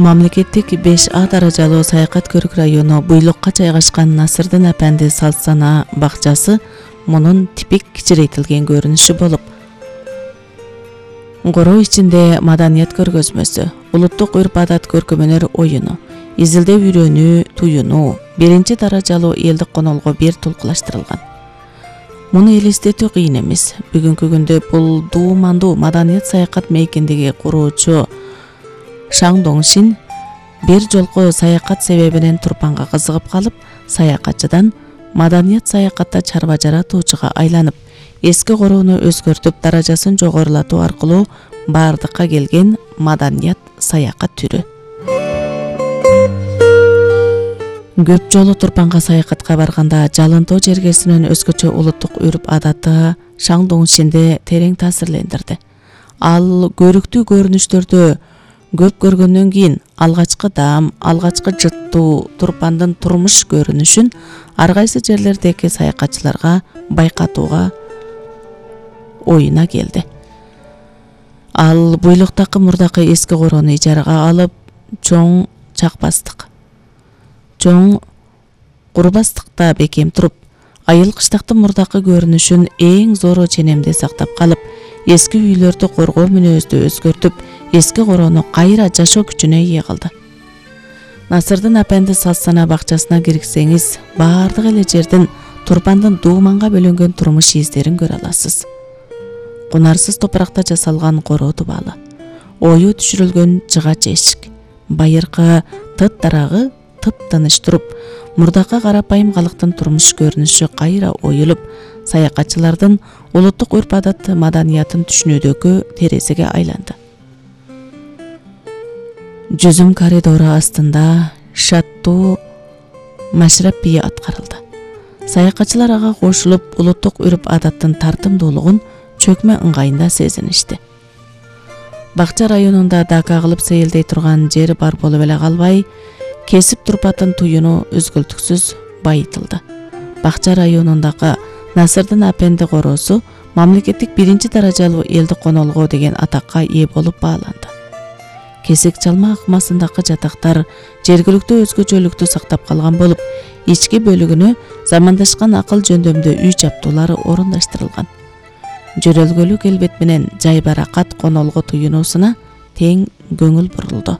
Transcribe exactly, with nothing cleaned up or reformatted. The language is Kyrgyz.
Мамлекеттик беш А даражалуу саякат көрүк району Буйлукка жайгашкан Насырдын апенди Салсана бакчасы мунун типик кичирейтилген көрүнүшү болуп, короо ичинде маданият көргөзмөсү, улуттук үрп-адат көркөмөнөр оюну, изилдөө үйрөнүү, туюнуу, биринчи даражалуу элдик конолго бир тулкулаштырылган. Муну элестетүү кыйын эмес. Бүгүнкү күндө бул дуумандуу маданият саякат мейкиндиги куруучу Шаң Доңшин бир жолку саякат себебинен Турпанга кызыгып калып, саякатчыдан маданият саякатта чарба жаратуучуга айланып, эски короону өзгөртүп, даражасын жогорулатуу аркылуу бардыкка келген маданият саякат түрү. Көп жолу Турпанга саякатка барганда Жалынтоо жергесинин өзгөчө улуттук үрп-адаты Шаң Доңшинди терең таасирлендирди. Ал көрүктүү көрүнүштөрдү көп көргөндөн кийин алгачкы даам, алгачкы жыттуу Турпандын турмуш көрүнүшүн ар кайсы жерлердеги саякатчыларга байкатууга оюна келди. Ал Буйлуктагы мурдакы эски короону ижарага алып, чоң чакпастык, чоң курбастыкта бекем туруп, айыл кыштактын мурдакы көрүнүшүн эң зоро ченемде сактап калып, эски үйлөрдү коргоо мүнөздү өзгөртүп, эски короону кайра жашоо күчүнө ээ кылды. Насырдын апенди Салсана бакчасына кирсеңиз, баардык эле жерден Турпандын дууманга бөлөнгөн турмуш издерин көрө аласыз. Кунарсыз топуракта жасалган короо дубалы, ою түшүрүлгөн жыгач эшик, байыркы тыт дарагы тып-тыныч туруп, мурдакы карапайым калктын турмуш көрүнүшү кайра оюлуп, саякатчылардын улуттук үрп-адат маданиятын түшүнүүдөгү терезеге айланды. Жүзүм коридору астында шаттуу машрап бии аткарылды. Саякатчылар ага кошулуп, улуттук үрп-адаттын тартымдуулугун чөкмө ыңгайында сезиништи. Бакча районунда дака кылып сейилдей турган жер бар болуп эле калбай, кесип турпатын туюну үзгүлтүксүз байытылды. Бакча районундагы Насырдын апенди короосу мамлекеттик биринчи даражалуу элдик конолго деген атакка ээ болуп бааланды. Кесик чалма акмасындагы жатактар жергиликтүү өзгөчөлүктү сактап калган болуп, ички бөлүгүнө замандашкан акыл жөндөмдүү үй жаптуулары орундаштырылган. Жөрөлгөлүк келбет менен жай баракат конолго туюнуусуна тең көңүл бурулду.